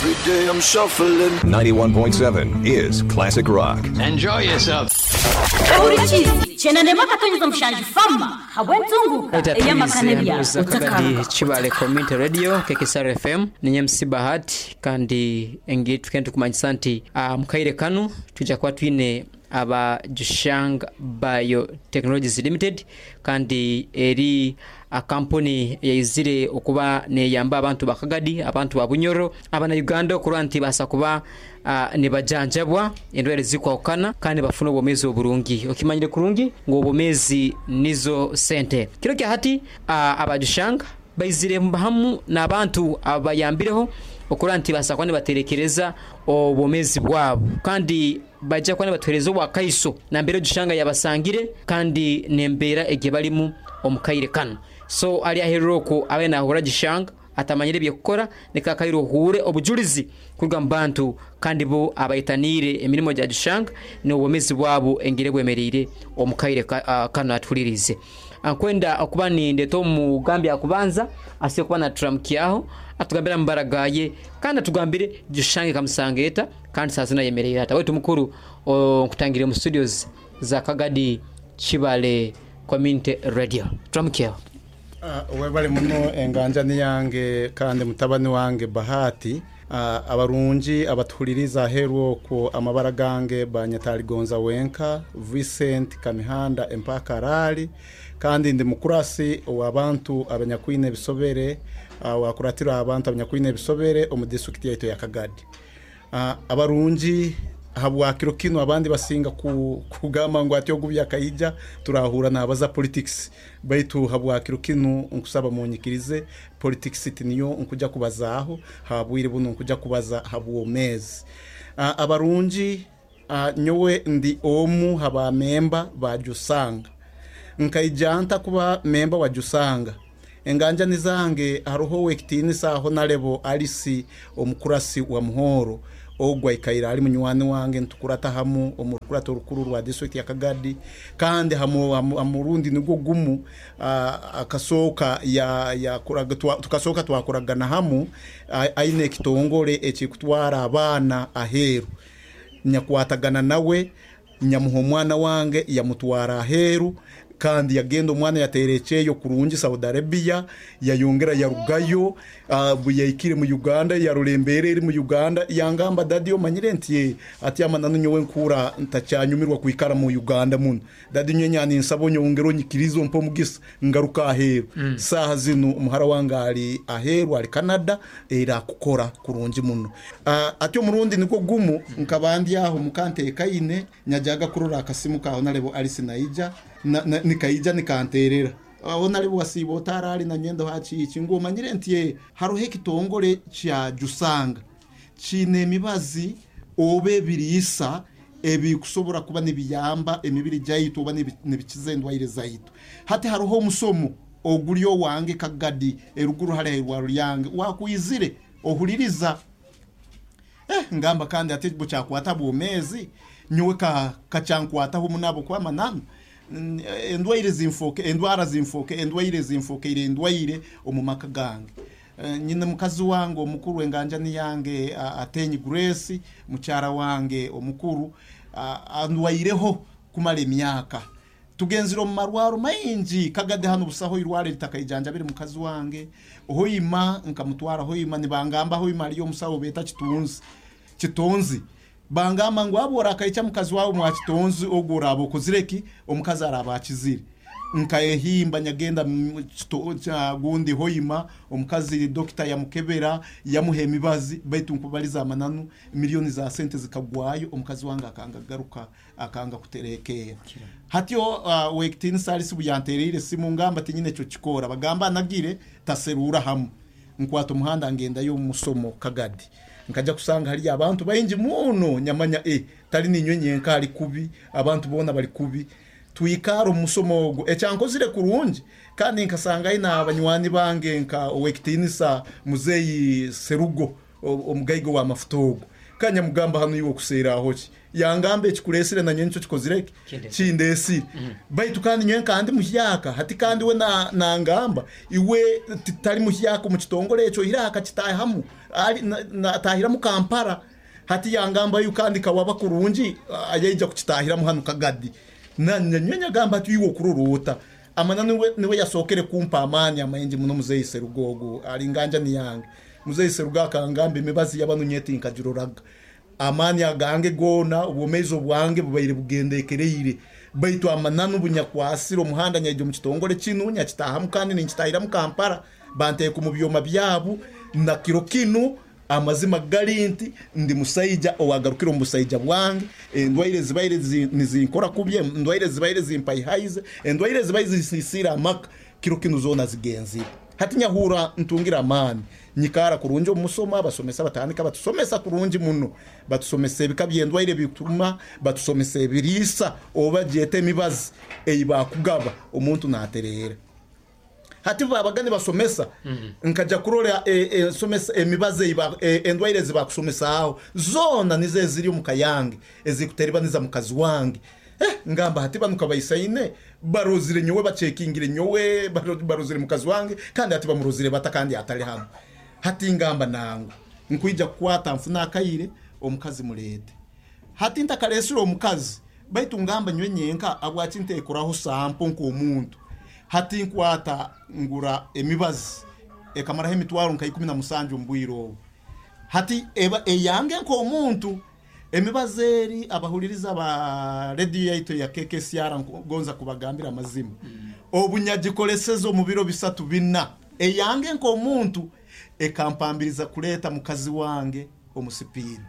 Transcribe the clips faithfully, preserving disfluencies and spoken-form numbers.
Every day I'm shuffling. ninety-one point seven is Classic Rock. Enjoy yourself. Kibale Community Radio K K S R F M ninye M C Bahati kandi engi tukenda kumanyisa nti uh, mukaire kanu tujja kuba twine aba Jushang Biotechnologies Limited kandi eri a company yaizire okuba neyamba abantu bakagadi abantu ba Bunyoro abana Uganda okurwa nti basa kuba uh, nibajanjabwa endwara zikwawukana kandi bafuna obwomezi oburungi okimanyire kurungi ngo obwomezi nizo sente kiro kya hati uh, aba Jushang baizire hamu n'abantu abayambireho okurwa nti basa kuba nibaterekereza obwomezi bwabo kandi bajja kuba nibatuhereza obwakaiso nambere Jushanga yabasangire kandi nembeera ege balimu omukaire kano so ali aherera okwo abe nahura Jushanga atamanyire byekukora nikakaire ohure obujulizi kuruga mu bantu kandi bo abayitanire emirimo gya Jushanga n'obwomezi bwabo engere bwemereire omukaire ka, uh, kano atulirize ankwenda okuba nindeta omugambi akubanza asiye kuba naturamukiaho atugambira mubaragaye kandi atugambire Jushange kamusangeta kandi sazina yemerera ata wetu mukuru nkutangire mu studios za Kagadi Kibale Community Radio turamukiaho. Uh, webale muno enganja niyange kandi mutabani wange Bahati uh, abarungi abatuhuliriza aheru okwo amabara gange banyataligonza wenka Vincent Kamihanda empaka rali kandi ndi mukurasi w'abantu abanyakwine ebisobere uh, wakuratira abantu abanyakwine ebisobere omu district yaitu ya Kagadi. Uh, abarungi habwakiro kino abandi basinga ku, kugamba ngo ati ogubya kaija turahura nabaza politics baitu habwakiro kino nkusaba munyikirize politics tiniyo nkuja kubazaho habwire buno nkuja kubaza habwomezi. Uh, abarungi uh, nyowe ndi omu haba memba ba Jusanga nkaijanta kuba memba wa Jusanga enganja nizange haruho wekitinisa aho narebo Alice omukurasi wa Muhoro ogwa ikaira ali munywani wange ntukurata hamu omukurata orukuru rwa district ya Kagadi kandi hamu amurundi nigwo gumu uh, akasoka ya ya kuraga tukasoka twakuragana hamu aine ekitongole ekikutwara abana aheru nyakwatagana nawe nyamuho omwana wange yamutwara aheru kandi yagenda omwana yaterecheyo kurungi Saudi Arabia yayongera yarugayo uh, yaikire mu Uganda yarurembere eri mu Uganda yangamba dadi omanyire nti ati amananu nyowe nkura ntacyanyumirwa kwikara mu Uganda muno dadi nyenyani nsabo nyongero nyikirizo mpo mugisa ngaruka aheru mm. Saha zino umuhara wangali aheru ali Canada era kukora kurungi muno uh, ati omurundi niko gumu nkabandi aho mukante kaine nyajaga kurora akasimu kaho narebo Alice naija na, na, nikaija nikanterera aho nari wasibo tarali na nyendo hachi ngo manyire nti haruhe kitongole kya Jusanga chine mibazi obe birisa ebikusobora kuba nibiyamba emibiri jayitu oba nibikize ndwaire zaitu hati haruho omusomo ogulyo wange Kagadi eruguru hale rwa ryange wakuizire ohuliriza eh ngamba kandi ati buchakwata bwomezi nyowe ka kacyankwataho munabo kwa mananu endwaire zimfoke endwara zimfoke endwaire zimfoke ire endwaire omumaka gange nyine mukazi wange omukuru enganja niyange atenyi Grace mukyara wange omukuru andwaireho kumala emyaka tugenzira mu marwaro maingi Kagadi hano busaho irware litakayijanja biri mukazi wange hoima nkamutwara hoima nibangamba hoima aliyo musaho beta kitunzi kitunzi bangamba ngo abora akaicha mukazi wawe mwakitonzi ogora abo kuzireki omukazi arabakizire nkaehimba nyagenda cha gundi hoima omukazi dokita yamukebera yamuhe emibazi baitu nkubaliza amananu milioni za sente zikagwayo omukazi wange akanga garuka akanga kuterekera hatyo uh, wekitin salisi buyanterire simu ngamba tinyine cyo kikora bagamba nagire taserura hamu nkwata umuhanda ngenda yo musomo Kagadi nkaja kusanga hali abantu bayingi muno nyamanya e tali ninywe nyenka ali kubi abantu bona bali kubi tuikaro musomo ogo ekyankozire kurungi kandi nkasanga ina abanywani bange nka owekitinisa muzeyi Serugo omugaigo wa mafutogo Kanya mugamba hanu iwe okuseera aho ki yangamba ekikuleesire nanye nikyo kikozire ki kindesire. Baitu kandi nyowe kandi muhyaka hati kandi we na nangamba iwe titali muhyaka omu kitongole ekyo ira akakitahamu atahiramu Kampala. Hati yangamba yu kandi kawaba kurungi ayaija kukitahiramu hanu Kagadi. Nanye nyagamba ati iwe okurorota amana niwe niwe yasokere kumpa amani amaingi muno muzeyi Serugogo alinganja ni yange. Muzeyi Serugo akangamba emibazi yabanu nyeti nkagiroraga amani agange gona obwomezo bwange bubaire bugendekereire baitu amananu bunyakwasira omuhanda nyaije mu kitongole kinu nyakitahamu kandi ninkitahiramu Kampala banteeka mu byoma byabu na kiro kinu amazima gali nti ndi musaija owagarukira omu busaija bwange. Endwaire zibaire nizinkora kubye, endwaire zibaire zimpaihaize, endwaire zibaire zisisira amaka kiro kinu zona zigenzire. Hati nyahura ntungira amani nyikara kurungi omusoma abasomesa batandika batusomesa kurungi muno, batusomesa ebika byendwaire bituma, batusomesa ebiriisa oba gyete emibazi eibakugaba omuntu naterera. Hati babagani basomesa mm -hmm. nkaja kurora ensomesa e, emibazi e, endwaire zibakusomesa aho zona nize ziri omu kayange ezikuteribaniza mukazi wange. Eh, ngamba hati banu kabaisaine barozire nyowe bachekingire nyowe barozire mukazi wange kandi hati bamurozire bata kandi atali hano. Hati ngamba nangu nkuija kukwata nfuna akaire omukazi mulete. Hati ntakalesura omukazi baitu ngamba nywe nyenka abwachi ntekoraho sampo nko omuntu. Hati nkwata ngura emibazi ekamaraho emitwaro nka ikumi na musanju mbwiro obu. Hati eba eyange nko omuntu emibazi eri abahuliriza ba radio yaitu ya K K C R ngonza kubagambira amazima. Mm. Obunyagikoleseza omu biro bisatu bina eyange nko omuntu ekampambiriza kuleta mukazi wange omusipidi.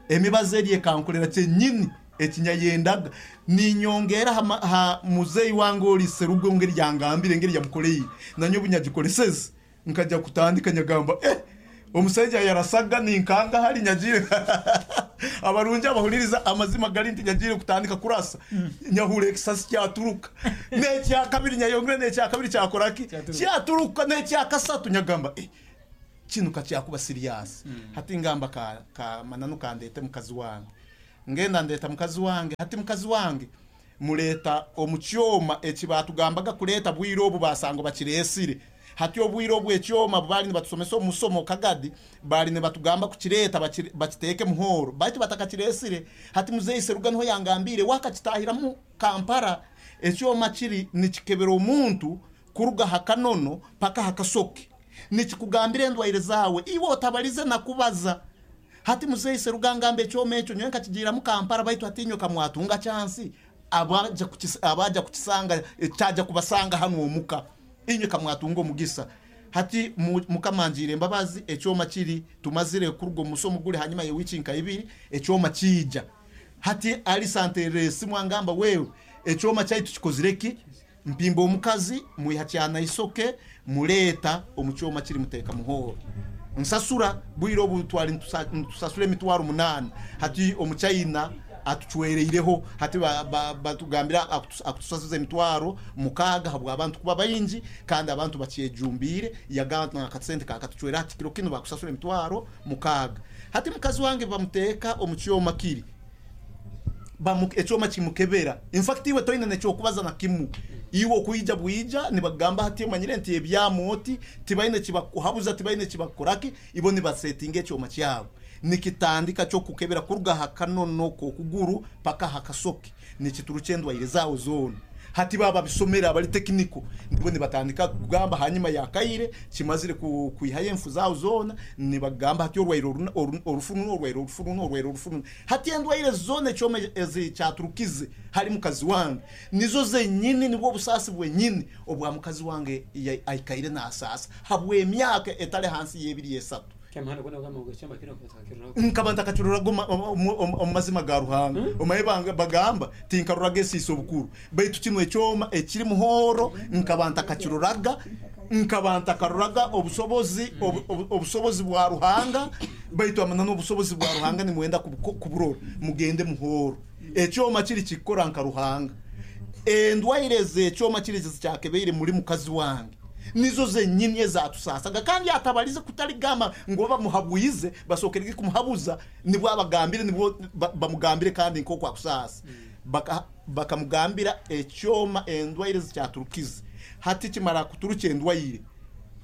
Emibazi eri ekankolera kyenyini ekinyayendaga ninyongera ha, ha muzeyi wange oli Serugo ngeri yangambire ngeri yamukoleye nanyo bunyagikoleseza nkaja kutandika nyagamba eh omusajja yarasaga ninkanga hali nyagire abarungi abahuliriza amazima gali nti nyagire kutandika kurasa mm. Nyahure ekisasi kyaturuka n'ekya kabiri nyayongere n'ekya kabiri kyakoraki kyaturuka n'ekya kasatu nyagamba eh kinu kacyakuba serious. Mm. Hati ngamba ka, ka mananu kandete mukazi wange ngenda ndeta mukazi wange. Hati mukazi wange muleta omukyoma ekibatugambaga kuleta bwiro obu basango bakiresire. Hati obwiro obu ekyoma bali nibatusomesa omusomo Kagadi bali nibatugamba kukireta bakiteke muhoro baitu batakakiresire. Hati muzeyi Seruga niho yangambire wakakitahiramu Kampala ekyoma kiri nikikebera omuntu kuruga hakanono paka hakasoke nikikugambire endwaire zawe iwe otabalize nakubaza. Hati muzeyi Seruga ngambe ekyoma ekyo nyowe nkakigiramu Kampala baitu hatinyo kamwatunga chansi abaja kukis, abaja kukisanga cyaja kubasanga hano omuka inywe kamwatunga omugisa. Hati mukamanjire embabazi ekyoma kiri tumazire kurugo musomo guli hanyuma ye wiki nka ibiri ekyoma kijja. Hati ali santere simwangamba wewe ekyoma kyaitu kikozireki mpimba omukazi mwihacyana isoke muleta omukyoma kiri muteka muhoro nsasura bwiro obu twali ntusasura emitwaro munana. Hati omuchayina atuchwereireho hati batugambira akutusasuza emitwaro mukaga habwa abantu kuba bayingi kandi abantu bakyejumbire yagamba nakasente kakatuchwera ati kiro kino bakusasura emitwaro mukaga. Hati mukazi wange bamuteka omukyoma kiri bamu ekyoma kimukebera in fact iwe toyina nekyokubaza na kimu iwe okuija bwija nibagamba hati manyire nti ebyamoti tibaine kibakuhabuza tibaine kibakoraki ibo nibasetinga ekyoma kyabo nikitandika cyo kukebera kuruga hakanono kokuguru paka hakasoke nikituruche endwaire zawo zona. Hati baba bisomera abali tekniko nibo nibatandika kugamba hanyuma yakaire kimazire kuihaye enfu zawo zona nibagamba hati orwaire orufunu orwaire orufunu orwaire orufunu. Hati endwaire zone cyome ezicyaturukize hari mukazi wange nizo zenyini nibwo busasi bwenyini obwa mukazi wange aikaire nasasa habwe emyaka etale hansi yebiri esatu nkabanta kachururago omazima ga Ruhanga omaye bagamba tinkaruraga esiso obukuru baitu kino ekyoma ekiri muhoro nkabanta kachururaga nkabanta karuraga obusobozi obusobozi bwa Ruhanga baitu amanano obusobozi bwa Ruhanga nimwenda kuburora mugende muhoro ekyoma kiri kikora nka Ruhanga endwaire ze ekyoma kiri cyakebeire muri mukazi wange Nizo zenyini ezatusasaga, kandi atabalize kutaligamba ngo bamuhabwize, basokerege kumuhabuza nibwo abagambire, nibwo bamugambire kandi nko kwa kusasa. Baka bakamugambira ekyoma endwaire zikyaturukize. Hati kimara kuturuka endwaire,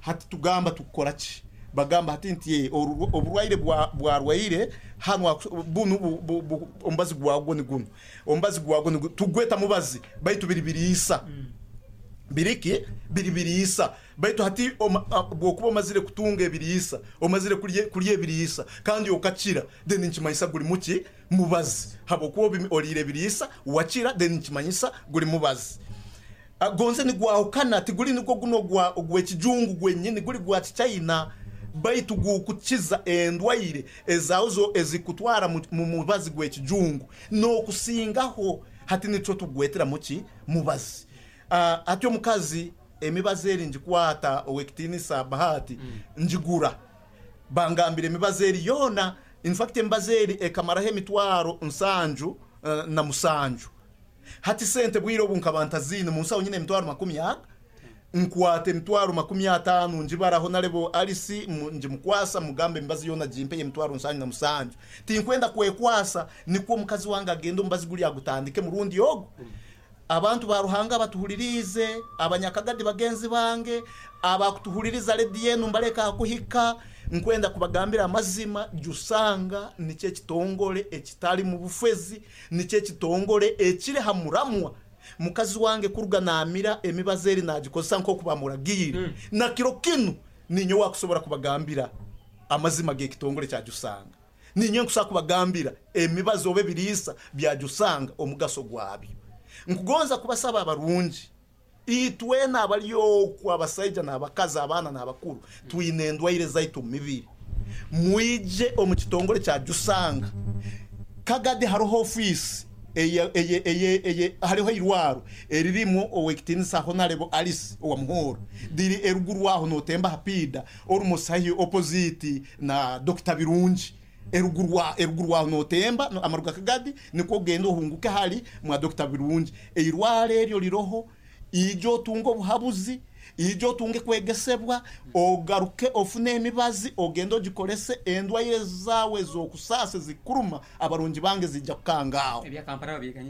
hati tugamba tukora ki? Bagamba hati nti oburwaire bwarwaire hano bunu ombazi gwagwo ni guno, ombazi gwagwo ni tugweta mubazi baitu biri biriisa. Biriki biri biriisa baitu hati bwokuba omazire kutunga ebiriisa, omazire kulya ebiriisa kandi okakira, then nkimanyisa guli muki? Mubazi. Habwokuba oliire ebiriisa wakira, then nkimanyisa guli mubazi. Gonze nigwahukana, tiguli nigwo guno gw'ekijungu gwenyini, guli gwa kichina, baitu gukukiza endwaire ezazo ezikutwara mu mubazi gw'ekijungu n'okusingaho. Hati nico tugwetera muki? Mubazi. Ati omukazi emibazi eri ngikwata ow'ekitinisa Bahati, njigura bangambire emibazi eri yona. In fact emibazi eri ekamaraho emitwaro nsanju na musanju. Hati sente bwire obu nkaba ntazine munsawo nyine emitwaro makumi aga, nkwata emitwaro makumi atano njibaraho narebo Alice njimukwasa mugambe emibazi yona jimpe emitwaro nsanju na musanju. Tinkwenda kwekwasa, nikwo omukazi wange agenda omubazi guli agutandike murundi ogo. Abantu ba Ruhanga batuhulirize, abanyakagadi bagenzi bange abakutuhuliriza redi yenu mbaleka kuhika, nkwenda kubagambira amazima. Jusanga nikyo ekitongole ekitali mu bufezi, nikyo ekitongole ekiri hamuramwa. Mukazi wange kuruga namira emibazi eri nagikozesa nkoku bamuragire. Mm. Na kiro kinu ninyo wakusobora kubagambira amazima g'ekitongole kya Jusanga. Ninyo nkusa kubagambira emibazi obe biriisa bya Jusanga omugaso gwabyo. Nkugonza kubasaba abarungi itwena abaliyo ku abasaija n'abakazi, abaana n'abakuru, twine endwaire zaitu mibiri, mwije omu kitongole kya Jusanga. Kagadi hariho ofisi eye eye eye eye hariho irwaro eririmu owekitinisa Honorable Alice owa Muhoro, diri eruguru aho notemba hapida almost hahi opposite na Doctor Birungi. Eruguru wa eruguru aho notemba no, amaruga Kagadi niko genda ohunguke hali mwa Doctor Birungi. Eirwaro eryo liroho, ijo otunge obuhabuzi, ijo otunge kwegesebwa, ogaruke ofune emibazi ogende ogikorese endwaire zawe zokusasa zikuruma. Abarungi bange zijja kukangaho. Ebya Kampala babyeganye.